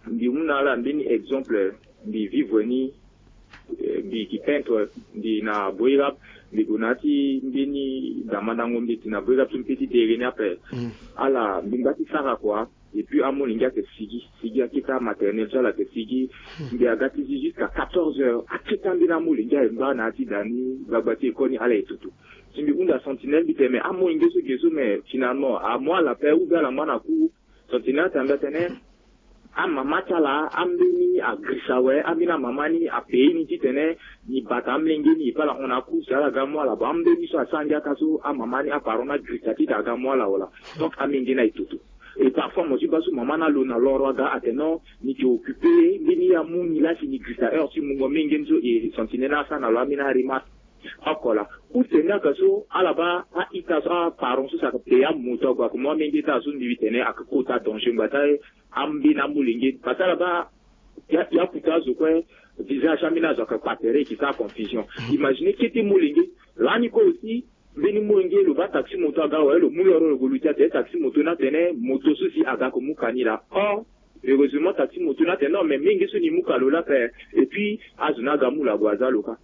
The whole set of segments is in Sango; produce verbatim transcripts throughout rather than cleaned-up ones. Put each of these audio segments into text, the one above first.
Mbi mu na ala mbeni exemple, mbi vivre ni, eh, mbi yeke peintre, mbi na Boirap, mbi gue na ya ti mbeni damandango mbeti na Boirap so mbi pe ti dere ni ape. Ala mbi ngba ti sara kua. Et puis amolenge ayeke sigi, sigi akete amaternel so ala yeke sigi. Mbi aga ti zi jusqu'à quatorze heures, akete ambeni amolenge aye ngba na ya ti da ni, gbagba ti école ni ala ye tutu. Si mbi hunda sentinelle mbi tene mais amolenge so ge so mais finalement amu ala ape ou bien ala ngba na cour. Sentinelle atene mbi atene amama ti ala ambeni agirisa awe, ambeni amama ni apaye ni titene ni bata amolenge ni e pe ala hon na cour si ala ga amu ala. Bon, ambeni so asara ngia ka so amama ni, aparent ni agirisa titene aga amu ala wala. Donc amolenge ni aye tutu. Et parfois mo ti baa so mama ni alo na loro aga atene non, ni yeke occupé, mbeni ye amu ni la si ni girisa heure ti mungo amolenge ni so. Et sentinelle ni asara na lo ambeni aremarque oko laa. Use ni ayeke so ala baa a-ita so, aparent so si ayeke paye amoto ague ayeke mu amolenge ti ala so, mbi tene ayeke kota danger ngbata. Ambeni amolenge parce que ala baa ya, ya kuta azo kue, visage ti ambeni azo ayeke kpa tere, e yeke sara confusion. Imagine kete molenge lani kue aussi, mbeni molenge lo baa taxi moto aga awe, lo mu loro lo gue luti atene taxi moto ni atene moto so si aga yeke mu ka ni laa. Or heureusement taxi moto ni atene non mais molenge so ni mu ka lo laa ape. Et puis azo ni aga mu lo ague aza lo kâ.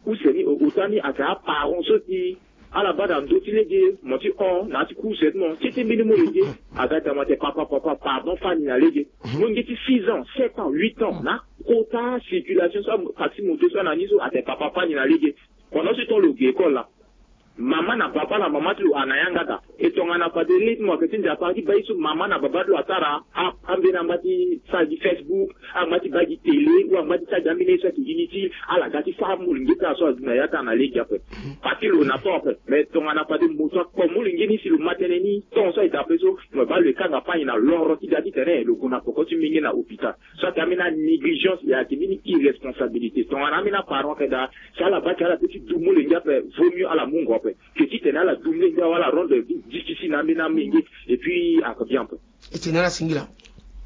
Use ni o, ota ni ayeke aparent so si ala baa na ndö ti lege, mo ti hon na ya ti cour seulement, kete mbeni molenge aga tama atene papa, papa, pardon, fâ ni na lege. Molenge ti six ans, sept ans, huit ans, na akota circulation so taxi moto so ana ni so atene papa, fâ ni na lege. Pendant ce temps lo ge école laa, mama na baba na mama ti lo ana yanga daa. E tongana fade rythme ayeke ti Nzapa ti baa ye so mama na baba ti lo asara, a, ambeni angba ti sara gi Facebook, angba ti baa gi télé, ou angba ti sara gi ambeni ye so ayeke inutile, ala ga ti sara molenge ti ala so azi na ya ti ala na lege ape. Parce que lo na temps ape. Mais tongana fade moto akpo molenge ni si lo ma tënë ni, temps so ayeke daa ape so, mo baa lo e kanga fâ ni na loro ti ga titene lo gue na peko ti molenge na hôpital. So ayeke ambeni anégligence, e ayeke mbeni irresponsabilité. Tongana ambeni aparent ayeke daa, si ala baa ti ala peut ti du molenge ape, vaut mieux ala mu ngo ape. Ke titene ala du molenge awe, ala rendre vie difficile na ambeni amolenge. Et puis ayeke bien ape. E tene ala singila.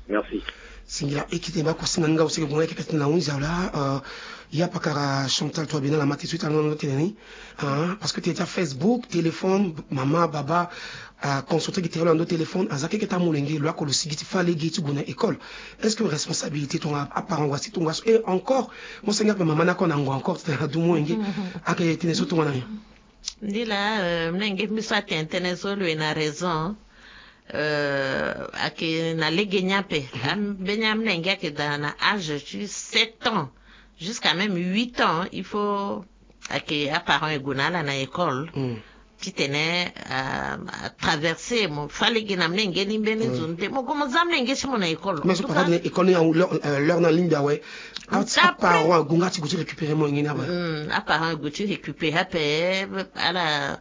Merci. Singila. E kete mba kusinga ni nga aussi ke gue nga e keke tene na hunzi awe laa. Ya pakara Chantal Touabéna, ala ma ti so ti ala ni na ndo tene ni. Parce que tene ti aFacebook, téléphone, mama, baba, aconcentré gi tere lo na ndo téléphone, aza keke ti amolenge, lo oko lo sigi ti fâ lege ti gue na école. Est-ce que responsabilité tongana aparent wa si tongaso? Et encore, mo senge ape mama ni oko na ngo encore titene adu molenge. Ayeke tene so tongana nyen? Ndi laa, euh, mlenge mbi so atene tënë so lo yeke na raison. Euh, ayeke na lege ni ape. Ambeni amlenge ayeke daa na âge ti sept ans jusqu'à même huit ans, il faut ayeke aparent e gue na ala na école. Titene a, atraverser, mo fâ lege na mlenge ni mbeni zo ni te, mo gue mo za mlenge ti mo na école. Mais so papa ni école ni, l'heure, euh, l'heure ni alingbi awe. Après, aparent ague nga ti gue ti récupérer molenge ni awe. Aparent ague ti récupérer ape, ala,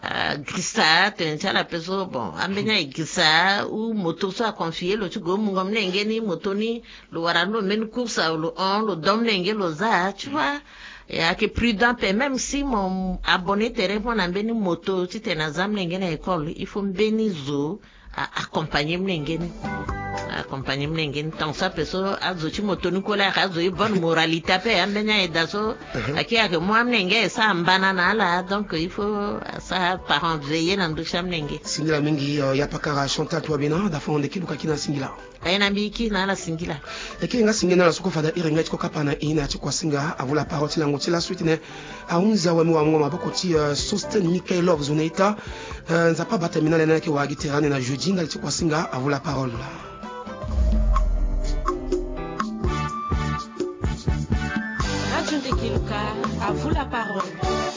ah, girisa tene ti ala ape so, bon, ambeni aye girisa ou moto so aconfie lo ti gue mungo mlenge ni, moto ni lo wara ni lo mbeni course awe, lo hon, lo don mlenge lo za, tu vois. E ayeke prudent ape, même si mo abonné tere mo na mbeni moto titene aza mlenge na école, il faut mbeni zo a, accompagner mlenge ni. Accompagner mlenge ni. Tant so ape so azo ti moto ni kue la ayeke azo ti bonne moralité ape, ambeni aye daa so. Ayeke, ayeke mu amlenge, e sara mbana na ala, donc il faut asara parent veiller na ndö ti amlenge. Singila mingi, euh, ya pakara Chantal Touabéna, da fo na ndeke luka kina singila. Aye na mbi ki na ala singila. E ke nga singila na ala so kue fade iri nga ti kue kapa na e na ya ti kuasinga, à vous la parole ti lango ti laso titene ahunzi awe, mo wara mungo maboko ti, euh, Sosten Michael Love zo na ita. Euh, Nzapa abata mbi na ala ni ayeke wara gi tere ande na jeudi, ndali ti kuasinga, à vous la parole. Radio Ndeke Luka, à vous la parole.